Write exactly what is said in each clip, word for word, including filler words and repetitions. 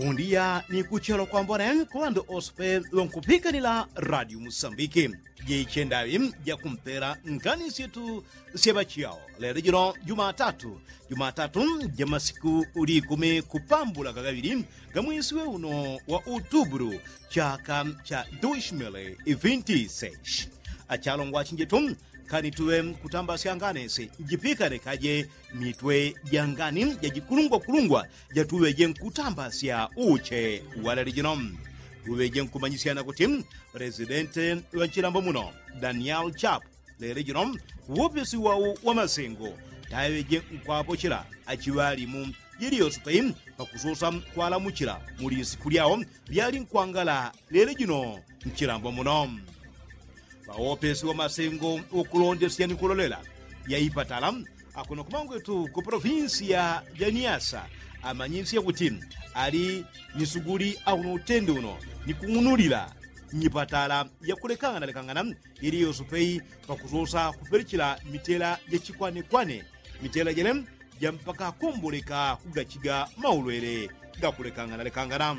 Undiya ni kuchelo kwambone kwa ŵandu ose pe ŵankupikanila radio musambiki. Jechendaŵi jakumpela ngani syetu sya ŵachiyao lelo jino jumatatu. Jumatatu ja masiku likumi kupambula gagaŵili ga mwesi we uno wa utubulu chaka cha dushimili vinti seshi. Achalongwa chinjetu kani tuŵe nkutambasya ngani si njipikane kaje mitwe ja ngani jajikulungwakulungwa jatuŵeje nkutambasya uche wa lelo jino. Tuŵeje nkumanyisyana kuti presidenti wa nchilambo muno daniel chap lelo jino uwopesi wau wa masengo taŵeje nkwapochela achiŵalimu jiliyosopei pakusosa kwalamuchila muli siku lyao lyali nkwangala lelo jino nchilambo muno. Ŵawopesi wa masengo ukulondesya ni kulolela ya ipatala akuno kumangwetu ku polofinsi ya janiyasa amanyisya kuti ali ni suguli auno utende uno ni kung'unulila nyipatala yakulekangana lekangana iliyosopei pakusosa kupelichila mitela jachikwanekwane mitela jele ja mpaka akomboleka kugachiga maulwele gakulekangana lekangana.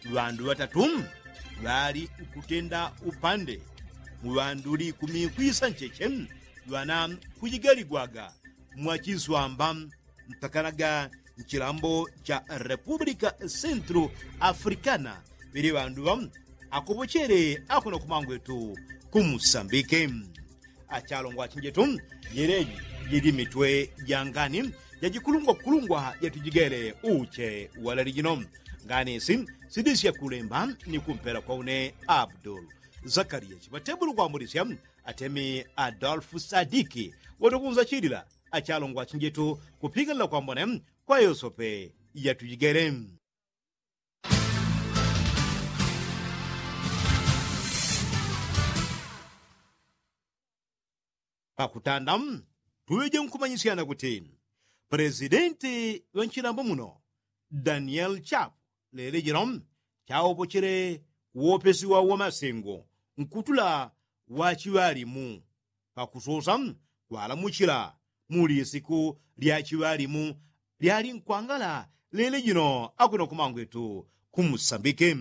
Ŵandu ŵatatu ŵali nkutenda upande mu ŵandu likumi kwisa ncheche ŵana kujigaligwaga mwa chiswamba mpakanaga nchilambo cha repupulika sentru afrikana ŵele ŵandu ŵa akopochele akuno kumangwetu kumusambike. Achalongwa achinjetu jeleji jili mitwe ja ngani jajikulungwakulungwa jatujigele uche wa lelo jino. Ngani si sidisya kulemba ni kumpela kwa une abdul zakariya chiŵatebulu kwambulisya atemi adolfu sadiki watukunzachilila achalongwa achinjetu kupikanila kwambone kwa yosope jatujigele. Pakutanda tuŵeje nkumanyisyana kuti pulezidenti ŵa nchilambo muno daniel chapu lelo jino chawopochele uwopesi wa wamasengo nkutula wachiŵalimu pakusosa kwalamuchila muli siku lyachiŵalimu lyali nkwangala lelo jino akuno kumangwetu kumusambike.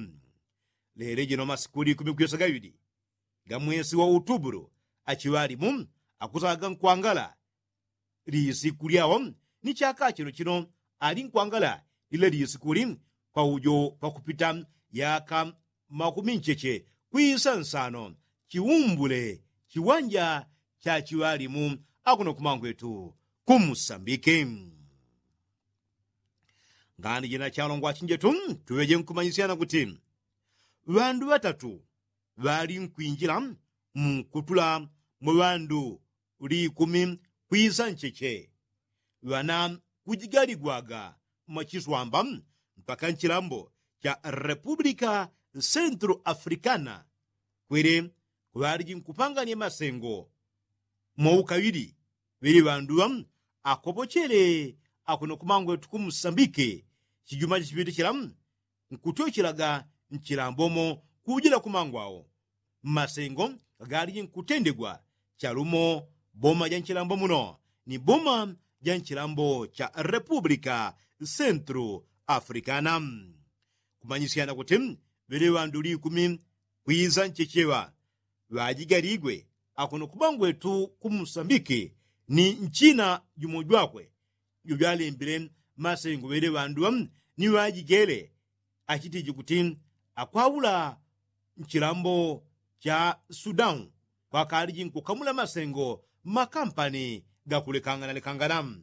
Lelo jino masiku likumi kuyesa gaŵili ga mwesi wa utubulu achiŵalimu akusaga nkwangala lisiku lyao ni chaka chino chino ali nkwangala lila lisikuli kwa ujo pakupita yaka makumi ncheche kwisa nsano chiumbule chiwanja cha chiŵalimu akuno kumangwetu kumusambike. Ngani jina chalongwa achinjetu tuŵeje nkumanyisyana kuti ŵandu ŵatatu ŵali nkwinjila mukutula mwa ŵandu likumi kwisa ncheche ŵana kujigaligwaga mwa chiswamba mpaka nchilambo cha repupulika sentru afrikana kwele kuŵaliji nkupangania masengo mwa ukaŵili ŵele ŵandu ŵa akopochele akuno kumangwetu kumusambike chijuma chichipite chila nkutyochelaga nchilambomo kujila kumangwao mmasengo gagaliji nkutendegwa chalumo boma ja nchilambo muno ni boma ja nchilambo cha repupulika sentru afrikana. Kumanyisyana kuti ŵele ŵandu likumi kwisa nchecheŵa ŵajigaligwe akuno kumangwetu kumusambike ni nchina jumo jwakwe jojwalembile masengo ŵele ŵandu ŵa ni ŵajigele achitiji kuti akwaula nchilambo cha sudan kwakaliji nkukamula masengo mmakampani gakulekangana lekangana.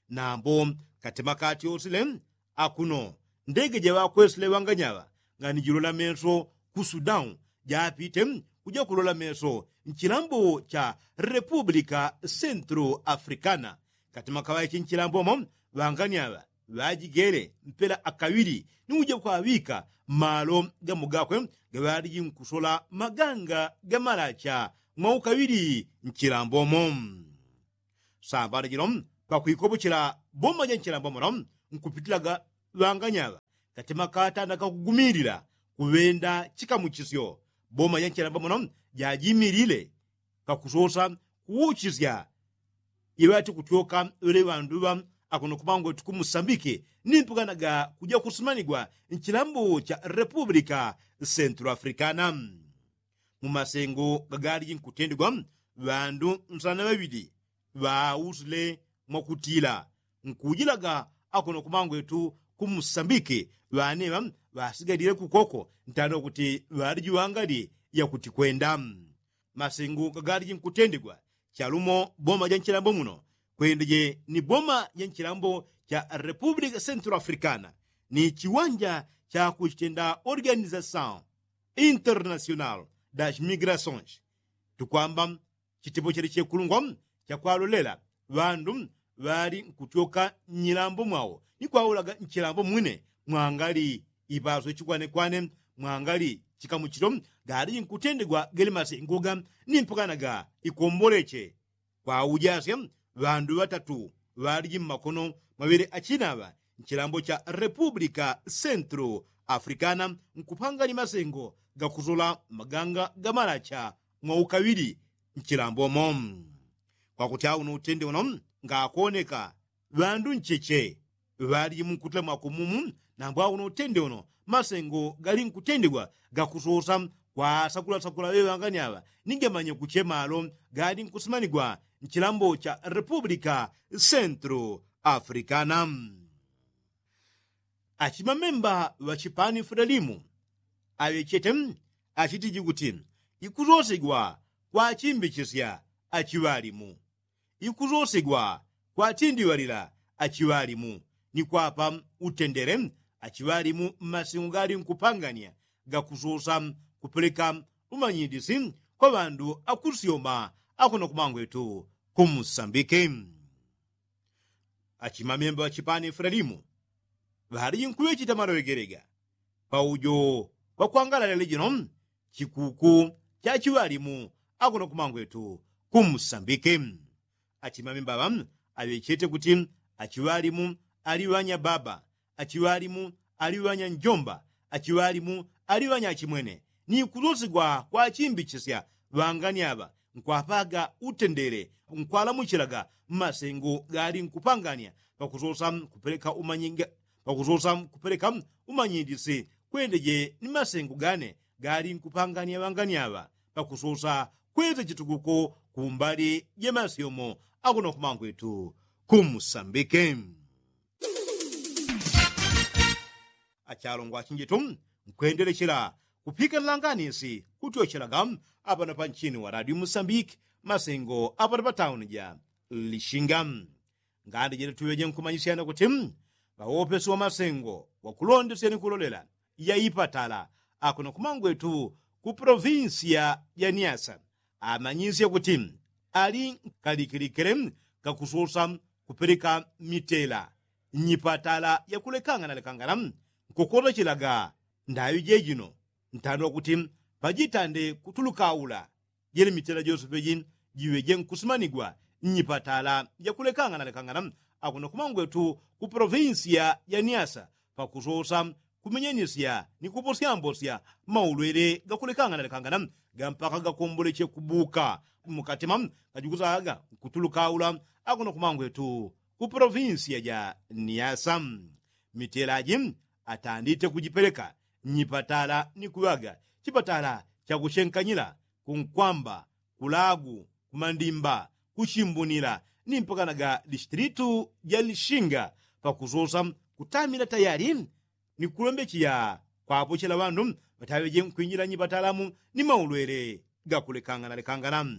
Nambo katima katyosile akuno ndege jaŵakwesile ŵanganyaŵa ngani jilola meso ku sudan japite kuja kulola meso nchilambo cha repupulika sentru afrikana katima kaŵaichi nchilambomo ŵanganyaŵa ŵajigele mpela akaŵili ni uja kwaŵika malo gamo gakwe gaŵaliji nkusola maganga gamalacha mwa ukaŵili nchilambomo. Sambano jino pakwikopochela boma ja nchilambo muno nkupitilaga ŵanganyaŵa katima katanda kakugumilila kuŵenda chikamuchisyo boma ja nchilambo muno jajimilile pakusosa kuuchisya iŵati kutyoka ŵele ŵandu ŵa akuno kumangwetu kumusambike ni mpakanaga kuja kusimanigwa nchilambo cha repupulika sentulo afrikana. Mu masengo gagaliji nkutendegwa ŵandu nsana ŵaŵili ŵausile mwakutila nkujilaga akuno kumangwetu kumusambike ŵaneŵa ŵasigalile kukoko ntano kuti ŵaliji ŵangali yakutikwenda. Masengo gagaliji nkutendegwa chalumo boma ja nchilambo muno kwendeje ni boma ja nchilambo cha repupulika sentulo afrikana ni chiwanja cha kuchitenda organizasaun internasional das migrasaunsi. Tukwamba chitepo chele chekulungwa chakwalolela ŵandu ŵali nkutyoka nyilambo mwao ni kwaulaga nchilambo mwine mwangali ipaso chikwanekwane mwangali chikamuchilo galiji nkutendegwa gele masengoga ni mpakanaga ikomboleche. Kwaujasya ŵandu ŵatatu ŵaliji mmakono mwaŵele achinaŵa nchilambo cha repupulika sentulo afrikana nkupangani masengo gakusola maganga gamalacha mwaukaŵili nchilambomo. Kwakuti auno utende uno ngakoneka ŵandu ncheche ŵaliji munkutila mwakumumu. Nambo auno utende uno masengo gali nkutendegwa gakusosa kwasakulasakula ŵeŵangani aŵa ni gamanye kuchemalo gali nkusimanigwa nchilambo cha repupulika sentulo afrikana. Achimamemba ŵa chipani fulalimu aŵechete achitiji kuti ikusosegwa kwachimbichisya achiŵalimu ikusosegwa kwatindiŵalila achiŵalimu ni kwapa utendele achiŵalimu mmasengo gali nkupangania gakusosa kupeleka umanyidisi kwa ŵandu akusyoma akuno kumangwetu kumusambike. Achimamemba ŵa chipani fulalimu ŵaliji nkuŵecheta maloŵegelega paujo pakwangalala lejino chikuku cha chiŵalimu akuno kumangwetu kumusambike. Achimamemba ŵa aŵechete kuti achiŵalimu ali ŵanya baba achiŵalimu ali ŵanya njomba achiŵalimu ali ŵanya achimwene ni kusosigwa kwachimbichisya ŵangani aŵa nkwapaga utendele nkwalamuchilaga mmasengo gali nkupangania pakusosa kupeleka umanyinga pakusosa kupeleka umanyidisi kwendeje ni masengo gane gali nkupangania ŵangani aŵa pakusosa kweza chitukuko kumbali ja masyomo akuno kumangwetu kumusambike. Achalongwa achinjitu nkwendelechela kupikana langanisi kutyochelaga apano panchini wa radio musambiki masengo apano patauni ja lishinga. Ngandi jele tuŵeje nkumanyisyana kuti ŵawopesi wa masengo wakulondesya ni kulolela ya ipatala akuno kumangwetu ku polovinsiya ja niasa amanyisye kuti ali nkalikilikile kakusosa kupeleka mitela nyipatala yakulekangana lekangana nkukotachelaga ndaŵi jejino ntandwa kuti pajitande kutulukaula jele mitela jose peji jiŵeje nkusimanigwa nyipatala jakulekangana lekangana akuno kumangwetu ku polovinsiya ja niasa pakusosa kumenyenisya ni kuposyambosya maulwele gakulekangana lekangana gampaka gakomboleche kubuka mukatima kajikusaga nkutulukaula akuno kumangwetu ku polovinsiya ja niasa. Mitelaji atandite kujipeleka nyipatala ni kuŵaga chipatala chakuchenkanyila kunkwamba kulagu kumandimba kuchimbunila ni mpakanaga distilitu ja lishinga pakusosa kutamila tayali ni kulombecheya kwapochela ŵandu ŵataŵeje nkwinjila nyipatalamu ni maulwele gakulekangana lekangana.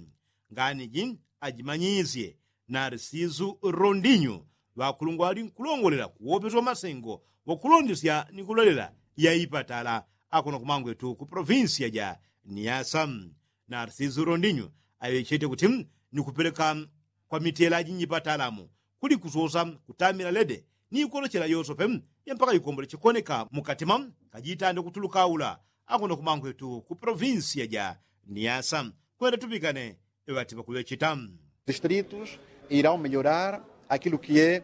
Nganiji ajimanyisye narsisu rondinyu ŵakulungwa ŵali nkulongolela kuwopeswa masengo wakulondesya ni kulolela ya ipatala akuno kumangwetu ku polovinsiya ja niasa. Narsisu rondinyu aŵechete kuti ni kupeleka kwa mitelaji nyipatalamu kuli kusosa kutamila lede ni ikolochela yosope yampaka ikomboleche koneka mukatima kajitande kutulukaula akuno kumangwetu ku polovinsiya ja niasa. Kwenda tupikane ŵati ŵakuŵecheta distritos irão melhorar aquilo que é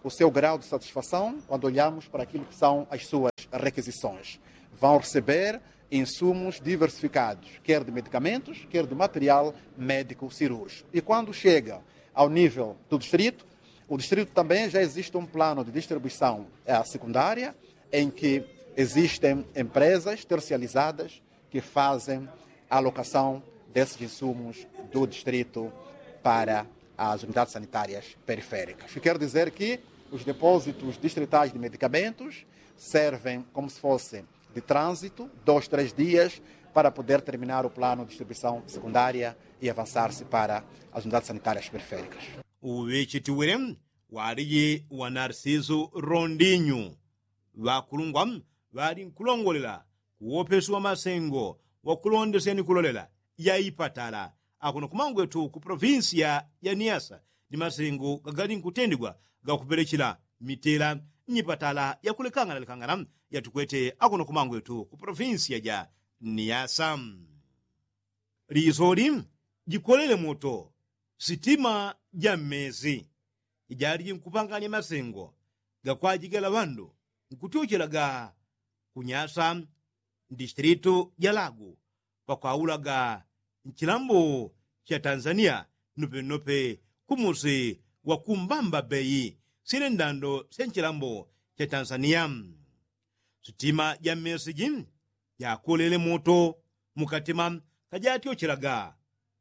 o seu grau de satisfação quando olhamos para aquilo que são as suas requisições. Vão receber insumos diversificados, quer de medicamentos, quer de material médico cirúrgico. E quando chega ao nível do distrito, O distrito também já existe um plano de distribuição secundária em que existem empresas tercializadas que fazem a alocação desses insumos do distrito para as unidades sanitárias periféricas. Quer dizer que os depósitos distritais de medicamentos servem como se fosse de trânsito, dois três dias, para poder terminar o plano de distribuição secundária e avançar-se para as unidades sanitárias periféricas. Uŵechetiwile waliji wa narsisu rondinyu ŵakulungwa ŵali nkulongolela kuwopesi wa masengo wakulondesya ni kulolela ya ipatala akuno kumangwetu ku polovinsiya ya niyasa ni masengo gagali nkutendigwa gakupelechela mitela nyipatala yakulekanganalekangana yatukwete akuno kumangwetu ku polovinsiya ja niyasa. Lisoli jikolele moto sitima ja mmesi ijali jinkupanganya masengo gakwajigela ŵandu nkutyochelaga kunyasa ndistilitu ja lagu pakwaulaga nchilambo cha tanzania nopenope kumusi wa kumbamba beyi sile ndando sya nchilambo cha tanzania. Sitima ja mmesi ji jakolele moto mukatima kajatyochelaga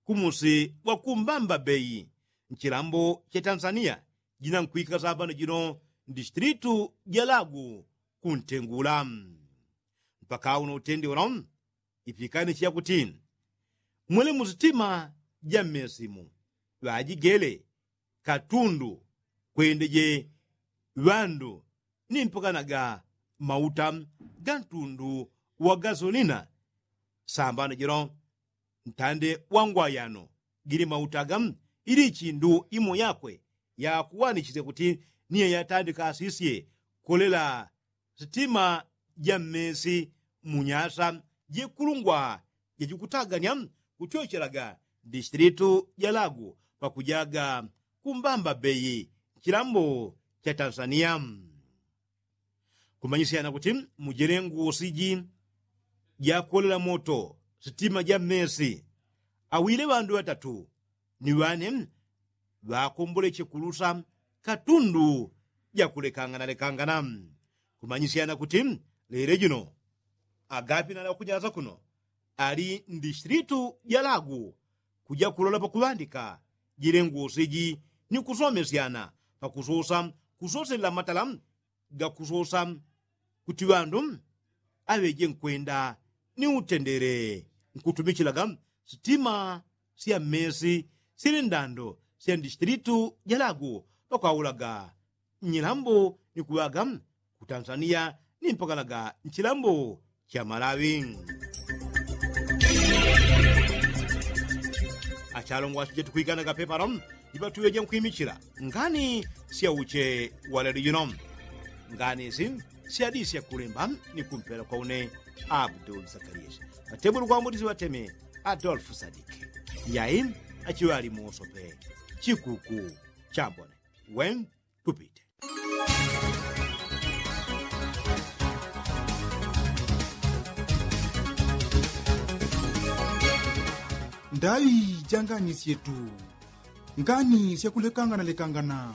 kumusi wa kumbamba beyi nchilambo cha tanzania jina nkwika sapano jino ndistilitu ja lagu kuntengula. Mpaka uno utendi uno ipikanichi yakuti mwele musitima ja mmesimu ŵajigele katundu kwendeje ŵandu ni mpakanaga mauta ga ntundu wa gasolina sambano jino ntande wa ngwayano gili mauta ga ili chindu imo yakwe yakuwanichisya kuti niye yatandika asisye kolela sitima ja mmesi munyasa jikulungwa jajikutaganya kutyochelaga ndistilitu ja lagu pakujaga kumbamba beyi nchilambo cha tanzania. Kumanyisyana kuti mujele ngusi ji jakolela moto sitima ja mmesi awile ŵandu ŵatatu ni ŵane ŵakomboleche kulusa katundu jakulekanganalekangana. Kumanyisyana kuti lele jino agapinala wakunyasa kuno ali ndistilitu ja lagu kuja kulola pakuŵandika jile ngusi ji ni kusomesyana pakusosa kusoselela matala gakusosa kuti ŵandu aŵeje nkwenda ni utendele nkutumichilaga sitima sya mmesi sili ndando sya ndistilitu ja lagu pakwaulaga nyilambo ni kuŵaga ku tanzania ni mpakanaga nchilambo cha malawi. Achalongwa achijetu kwiganaga pepano ipatuŵeje nkwimichila ngani sya uche wa lelo jino. Ngani isi syadisya kulemba ni kumpela kwa une abdul sakalisi atebulu kwa mbudisi ŵateme adolfu sadiki. Yai achiŵali musope chikuku chambone wen tupite. Ndaŵi janganisyetu ngani syakulekanganalekangana.